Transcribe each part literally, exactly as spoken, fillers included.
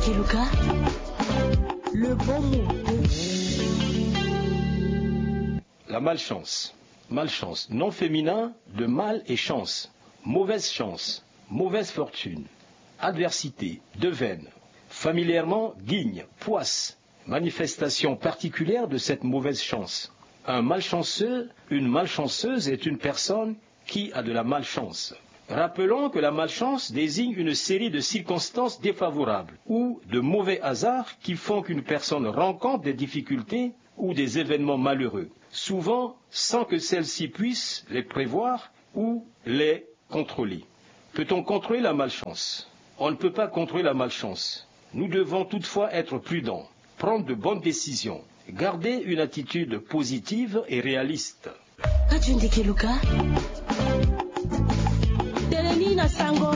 Keluka, le bon mot. La malchance. Malchance, nom féminin de mal et chance. Mauvaise chance, mauvaise fortune. Adversité, devène. Familièrement, guigne, poisse. Manifestation particulière de cette mauvaise chance. Un malchanceux, une malchanceuse est une personne qui a de la malchance. Rappelons que la malchance désigne une série de circonstances défavorables ou de mauvais hasards qui font qu'une personne rencontre des difficultés ou des événements malheureux, souvent sans que celle-ci puisse les prévoir ou les contrôler. Peut-on contrôler la malchance ? On ne peut pas contrôler la malchance. Nous devons toutefois être prudents, prendre de bonnes décisions, garder une attitude positive et réaliste. Ka tio ndeke luka. Tene ni na sango.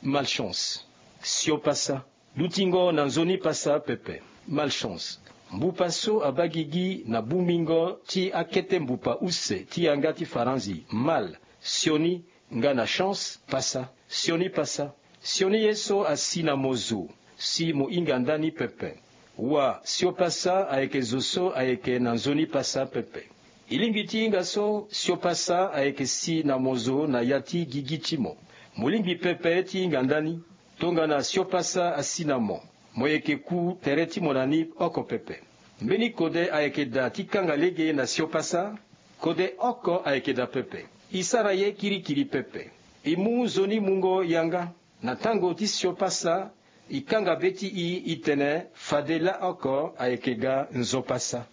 Malchance. Sio pasa. Dutingo na nzoni pasa pepe. Malchance. Mbupa so abaa gigi na bungbingo ti akete mbupa use ti yanga ti faranzi. Mal. Sioni. Nga na chance pasa. Sioni pasa. Sioni ye so asi na mo zo si mo hinga ndani pepe. Wa sio pasa ayeke zo so ayeke na nzoni pasa pepe. E lingbi ti hinga so sio pasa ayeke si na mo zo na ya ti gigi ti mo. Mo lingbi pepe ti hinga ndani. Tongana sio pasa asi na mo, mo yeke ku tere ti mo na ni oko pepe. Mbeni kode ayeke daa ti kanga lege na sio pasa. Kode oko ayeke daa pepe. E sara ye kirikiri pepe. E mu nzoni mungo yanga. Na tango ti sio pasa, e kanga be ti e, e tene fade laa oko ayeke ga nzoni pasa.